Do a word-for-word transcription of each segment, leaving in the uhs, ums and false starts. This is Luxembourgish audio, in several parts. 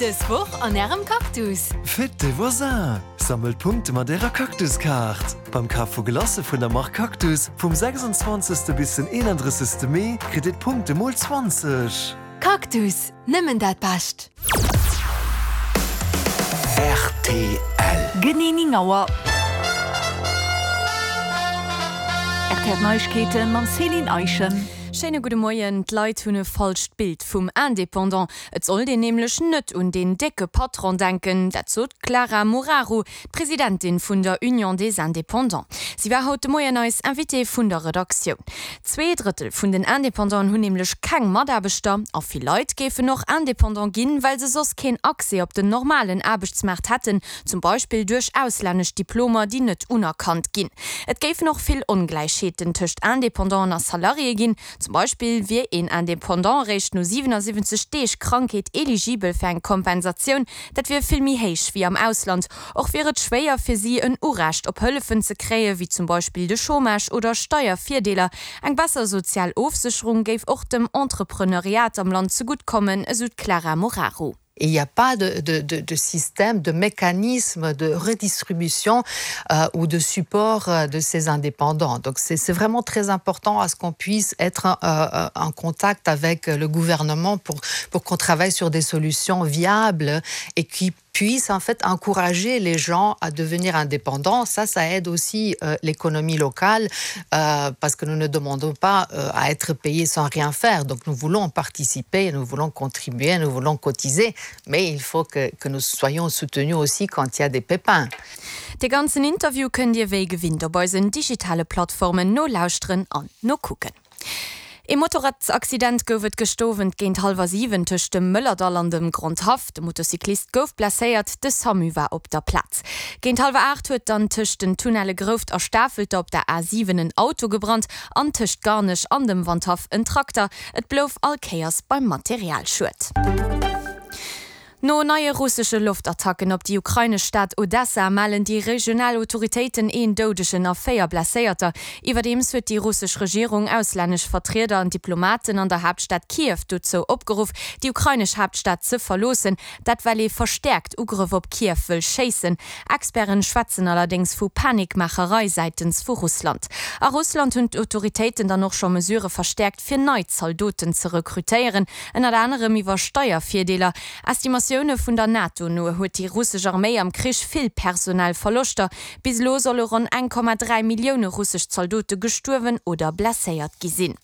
Dës Woch an ärem Cactus. Fête des voisins! Sammelt Punkte mat ärer Cactus-Kaart. Beim Kaf vu Glacë vun der Mark Cactus vum sechsundzwanzegste bis den eenandrëssegste Mee kritt dir d'Punkte mol zwanzeg. Cactus, nëmmen dat Bescht! Rtl. Genee néng Auer. Rtl Neiegkeeten mam Céline Eischen. Schéine gudde Moien. D'Leit hunn e falscht Bild vum Indépendant. Et sollt een nämlech net un deen décke Patron denken. Dat sot d'Clara Moraru, d'Presidentin vun der Union des Indépendants. Si war haut de Moien eis Invitée vun der Redaktioun. Zwee Drëttel vun den Independanten hunn nämlech keng Mataarbechter a vill Leit géifen och Indépendant ginn, well se soss keen Accès op den normalen Aarbechtsmaart hätten, zum Beispill duerch auslännesch Diplomer, déi net unerkannt ginn. Et géifen och vill Ongläichheeten tëscht Independanten a Salariéë ginn. Zum Beispill wier een Indépendant eréischt no siwenasiwwenzeg Deeg Krankheet eligibel fir eng Kompensatioun, dat wier vill méi héich wéi am Ausland. Och wier et schwéier fir si en Urecht op Hëllefen ze kréien, wéi zum Beispill de Chômage oder Steiervirdeeler. Eng besser sozial Ofsécherung géif och dem Entrepreneuriat am Land zegutt kommen, esou d'Clara Moraru. Et il n'y a pas de, de, de, de système, de mécanisme de redistribution euh, ou de support euh, de ces indépendants. Donc c'est vraiment très important à ce qu'on puisse être euh, euh, en contact avec le gouvernement pour, pour qu'on travaille sur des solutions viables et qui puissent en fait encourager les gens à devenir indépendants. Ça, ça aide aussi euh, l'économie locale euh, parce que nous ne demandons pas euh, à être payés sans rien faire. Donc nous voulons participer, nous voulons contribuer, nous voulons cotiser, mais il faut que, que nous soyons soutenus aussi quand il y a des pépins. De ganzen Interview kënnt Dir wéi gewinnt op eisen digitale Plattformen nolauschteren an nokucken. E Motorradsaccident gouf et gëschter Owend géint hallwer siwen tëscht dem Mëllerdall an dem Grondhaff. De Motocyclist gouf blesséiert, de Samu war op der Plaz. Géint hallwer aacht huet dann tëscht den Tunnelle Grouft a Stafelter op der A siwen en Auto gebrannt an tëscht Garnech an dem Wandhaff en Trakter. Et blouf all Kéiers beim Materialschued. No neie russesche Loftattacken op déi ukrainesch Stad Odessa mellen déi regional Autoritéiten een Doudegen a véier Blesséierter. Iwwerdeems huet déi russesch Regierung auslännesch Vertrieder an Diplomaten an der Haaptstad Kiew dozou opgeruff, déi ukrainesch Haaptstad ze verloossen, dat well ee verstäerkt Ugrëff op Kiew wëll schéissen. Experten schwätzen allerdéngs vu Panikmaacherei säitens vu Russland. A Russland hunn d'Autoritéiten dann och scho Mesurë verstäerkt fir nei Zaldoten ze rekrutéieren, ënnert anerem iwwer Steiervirdeeler. Estimatioune vun der NATO no huet déi russesch Arméi am Krich vill personell Verloschter. Bis elo solle ronn eng Komma dräi Millioune russesch Zaldote gestuerwen oder blesséiert gi sinn.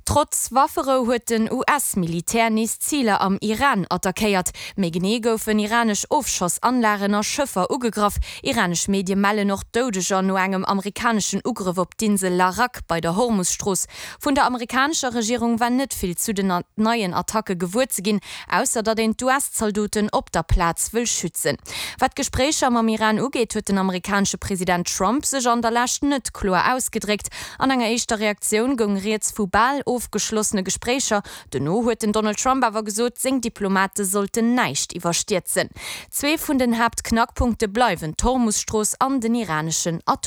Trotz Wafferou huet den U S Militär nees Ziler am Iran attackéiert. Méi genee goufen iranesch Ofschossanlagen a Schëffer ugegraff. Iranesch Medie mellen och Doudeger no engem amerikaneschen Ugrëff op d'Insel Larak bei der Hormus-Strooss. Vun der amerikanescher Regierung war net vill zu den neien Attacke gewuer ze ginn, ausser datt een d'U S-Zaldoten op der Plaz wëll schützen. Wat d'Gespréicher mam Iran ugeet, huet den amerikanesche President Trump sech an der Lescht net kloer ausgedréckt. An enger éischter Reaktioun goung rieds vu bal ofgeschlossene Gespréicher. Dono huet den Donald Trump awer gesot, seng Diplomate sollten näischt iwwerstierzen. Zwee vun den Haaptknackpunkte bleiwen d'Hormus-Strooss an den iraneschen Atom.